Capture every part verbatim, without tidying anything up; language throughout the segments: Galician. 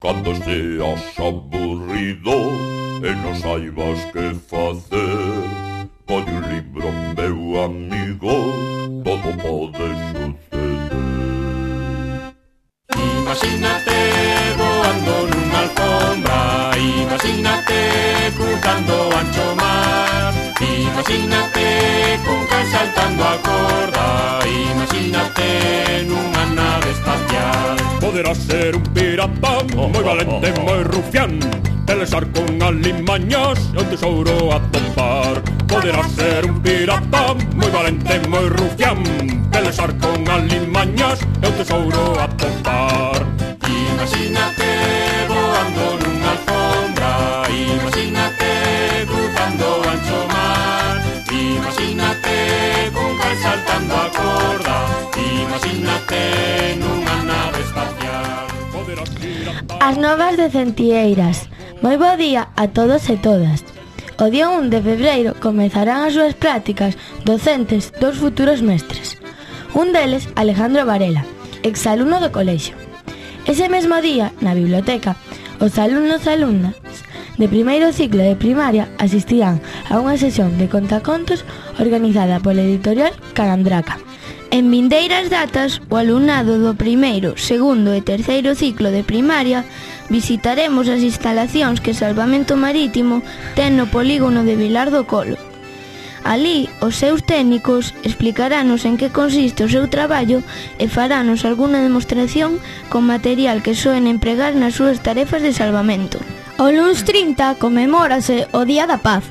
Cando seas aburrido e non saibas que facer, colle un libro, meu amigo, todo pode suceder. Imagínate voando nunha alfombra, imagínate cruzando o ancho mar, imagínate cun can saltando a corda, imagínate nunha nave espacial. Poderás ser un pirata moi valente, moi rufián, pelexar con alimañas e o tesouro a topar. Poderás ser un pirata moi valente, moi rufián, pelexar con alimañas e o tesouro a topar. Imagínate voando nunha alfombra, imagínate cruzando o ancho mar, imagínate cun can saltando a corda, imagínate nunha nave espacial. As novas de Centieiras. Moi bo día a todos e todas. O día un de febreiro comezarán as súas prácticas docentes dos futuros mestres. Un deles, Alejandro Varela, exalumno do colexio. Ese mesmo día, na biblioteca, os alumnos e alumnas de primeiro ciclo de primaria asistirán a unha sesión de contacontos organizada pola editorial Calandraca. En vindeiras datas, o alumnado do primeiro, segundo e terceiro ciclo de primaria visitaremos as instalacións que Salvamento Marítimo ten no polígono de Vilar do Colo. Alí, os seus técnicos explicarános en que consiste o seu traballo e farános algunha demostración con material que soen empregar nas súas tarefas de salvamento. O luns trinta conmemórase o Día da Paz.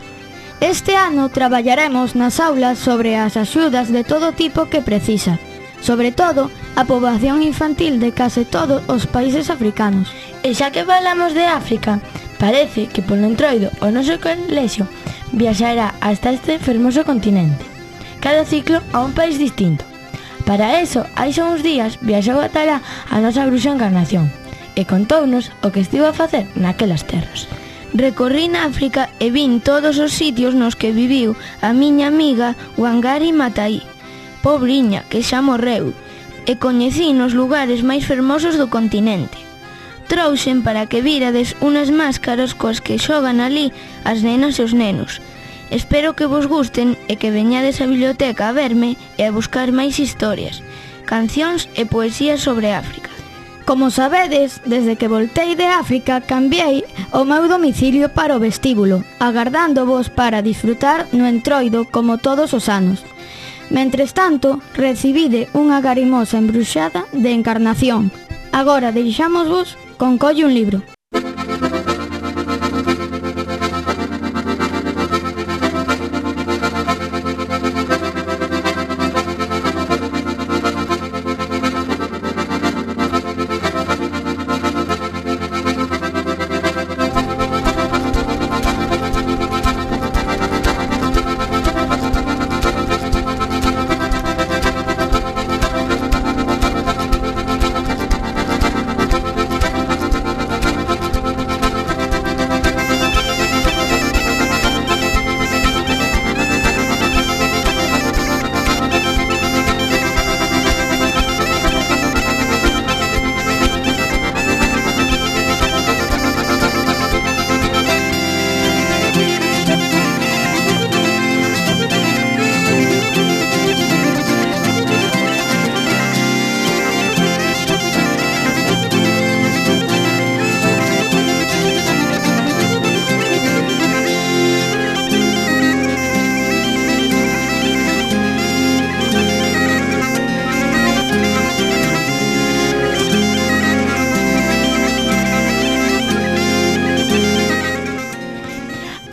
Este ano traballaremos nas aulas sobre as axudas de todo tipo que precisa, sobre todo a poboación infantil de case todos os países africanos. E xa que falamos de África, parece que polo entroido o noso colexio viaxará hasta este fermoso continente, cada ciclo a un país distinto. Para eso, hai xa uns días viaxou ata lá a nosa bruxa Encarnación e contounos o que estivo a facer naquelas terras. Recorrí na África e vin todos os sitios nos que viviu a miña amiga Wangari Maathai, pobriña que xa morreu, e coñecí nos lugares máis fermosos do continente. Trouxen para que virades unas máscaras coas que xogan ali as nenas e os nenos. Espero que vos gusten e que veñades á biblioteca a verme e a buscar máis historias, cancións e poesías sobre África. Como sabedes, desde que voltei de África cambiei o meu domicilio para o vestíbulo, agardándovos para disfrutar no entroido como todos os anos. Mentres tanto, recibide unha garimosa embruxada de Encarnación. Agora deixámosvos con Colle un libro.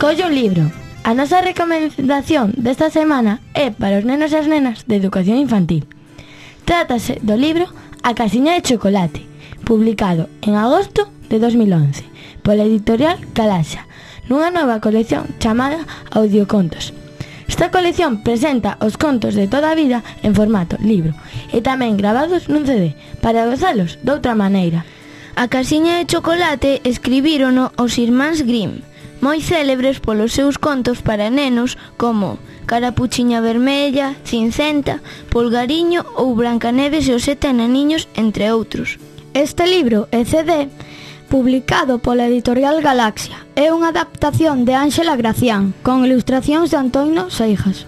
Colle un libro. A nosa recomendación desta semana é para os nenos e as nenas de educación infantil. Trátase do libro A casiña de chocolate, publicado en agosto de dos mil once pola editorial Calaxa, nunha nova colección chamada Audiocontos. Esta colección presenta os contos de toda a vida en formato libro e tamén gravados nun C D para gozalos doutra maneira. A casiña de chocolate escribírono os irmáns Grimm, moi célebres polos seus contos para nenos como Carapuchiña Vermella, Cincenta, Polgariño ou Brancaneves e os sete ananiños, entre outros. Este libro e C D publicado pola editorial Galaxia. É unha adaptación de Ángela Gracián, con ilustracións de Antonio Seijas.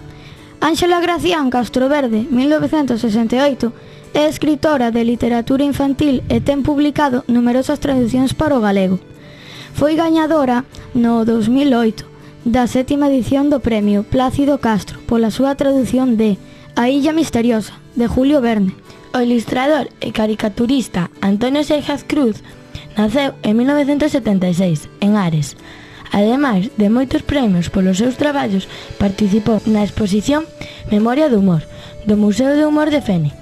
Ángela Gracián Castroverde, mil novecentos sesenta e oito, é escritora de literatura infantil e ten publicado numerosas traducións para o galego. Foi gañadora no dos mil oito da sétima edición do premio Plácido Castro pola súa tradución de A Illa Misteriosa, de Julio Verne. O ilustrador e caricaturista Antonio Seijas Cruz naceu en mil novecentos setenta e seis, en Ares. Ademais de moitos premios polos seus traballos, participou na exposición Memoria do Humor, do Museo de Humor de Fene,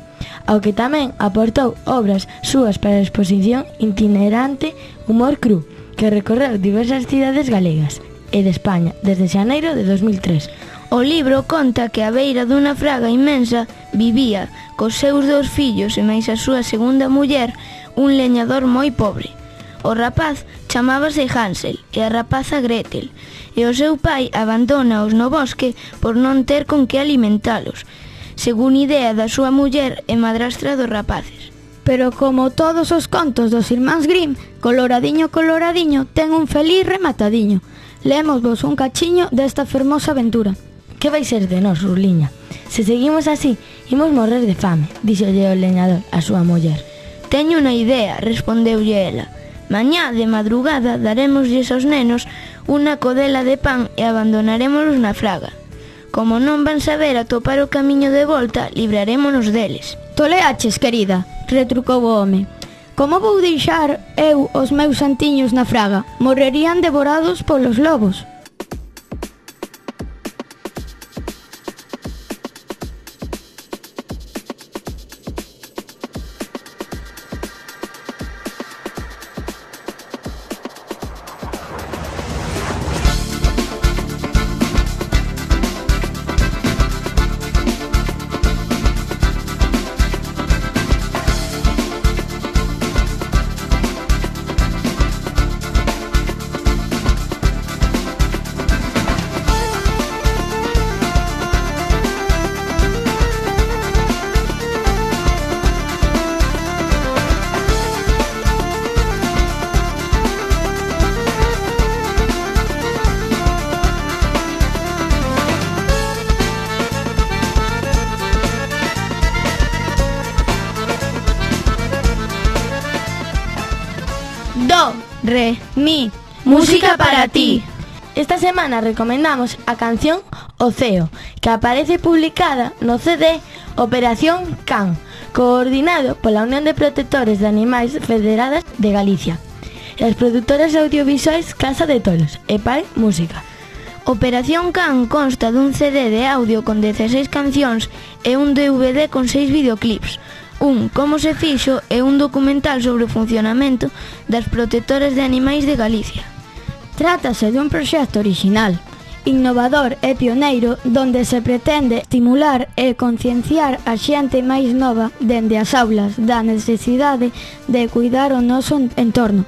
ao que tamén aportou obras súas para a exposición itinerante Humor Cru, que recorreu diversas cidades galegas e de España desde xaneiro de dos mil tres. O libro conta que á beira dunha fraga inmensa vivía cos seus dous fillos e máis a súa segunda muller un leñador moi pobre. O rapaz chamábase Hansel e a rapaza Gretel, e o seu pai abandónaos no bosque por non ter con que alimentalos, según idea da súa muller e madrastra dos rapaces. Pero como todos os contos dos irmáns Grimm, Coloradiño Coloradiño ten un feliz rematadiño. Lémosvos un cachiño desta fermosa aventura. Que vai ser de nós, Ruliña? Se seguimos así, imos morrer de fame, díxolle o leñador a súa muller. Teño unha idea, respondeulle ela. Mañá de madrugada darémoslles aos nenos unha codela de pan e abandonarémolos na fraga. Como non van saber atopar o camiño de volta, librarémonos deles. Toleaches, querida, retrucou o home. Como vou deixar eu os meus santiños na fraga? Morrerían devorados polos lobos. Do, re, mi, música para ti. Esta semana recomendamos a canción Oceo, que aparece publicada no C D Operación Can, coordinado pola Unión de Protectores de Animais Federadas de Galicia, e as produtoras audiovisuais Casa de Tolos e Pai Música. Operación Can consta dun C D de audio con dezasseis cancións e un D V D con seis videoclips, un Como se fixo e un documental sobre o funcionamento das protectoras de animais de Galicia. Trátase dun proxecto orixinal, innovador e pioneiro, donde se pretende estimular e concienciar a xente máis nova dende as aulas da necesidade de cuidar o noso entorno,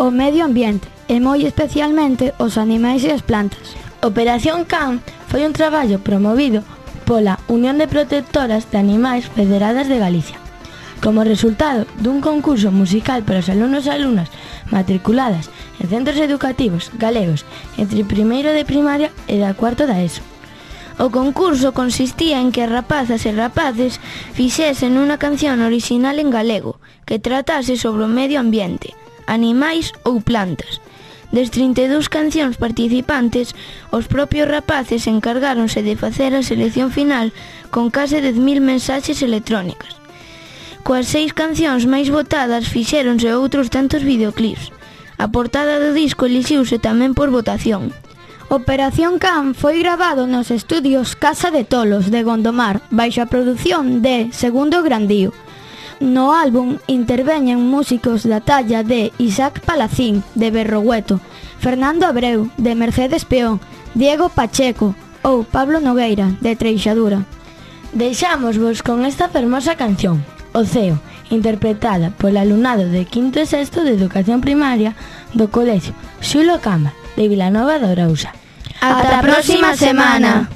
o medio ambiente e moi especialmente os animais e as plantas. Operación Can foi un traballo promovido pola Unión de Protectoras de Animais Federadas de Galicia, como resultado dun concurso musical para os alumnos e alumnas matriculadas en centros educativos galegos entre primeiro de primaria e da cuarto da ESO. O concurso consistía en que as rapazas e rapaces fixesen unha canción orixinal en galego que tratase sobre o medio ambiente, animais ou plantas. Des trinta e dúas cancións participantes, os propios rapaces encargáronse de facer a selección final con case dez mil mensaxes electrónicas. Coas seis cancións máis votadas fixéronse outros tantos videoclips. A portada do disco elixiuse tamén por votación. Operación Can foi gravado nos estudios Casa de Tolos de Gondomar, baixo a produción de Segundo Grandío. No álbum interveñen músicos da talla de Isaac Palacín, de Berrogueto, Fernando Abreu, de Mercedes Peón, Diego Pacheco ou Pablo Nogueira, de Treixadura. Deixámosvos con esta fermosa canción, Oceo, interpretada polo alumnado de quinto e sexto de Educación Primaria do Colegio Xulo Cama, de Vilanova de Arousa. Ata a próxima semana!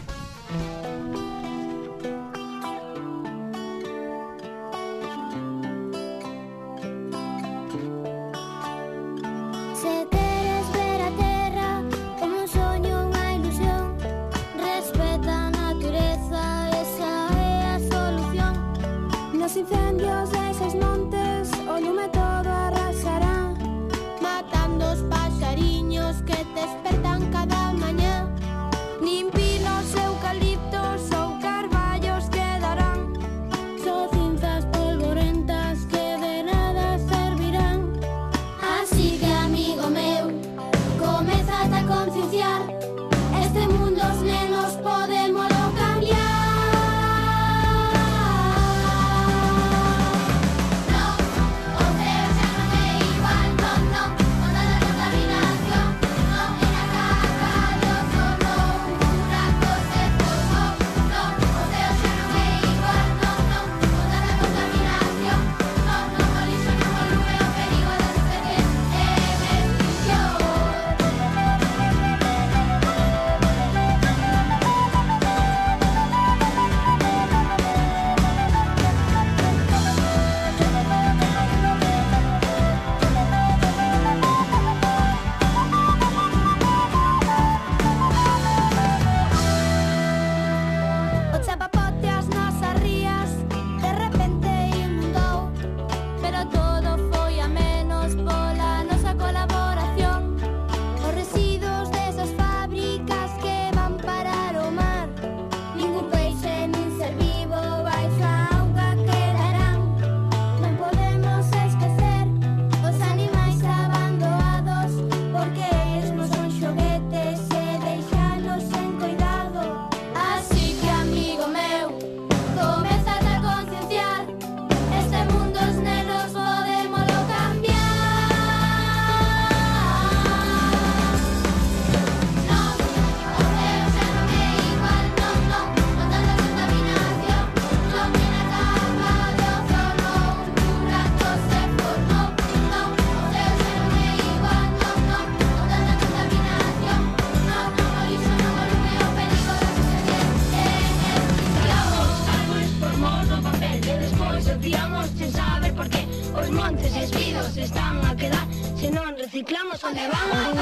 non reciclamos onde van?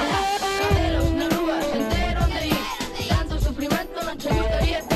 Cadelos na rúa, entero onde ir. Tanto sufrimento non che gustaría.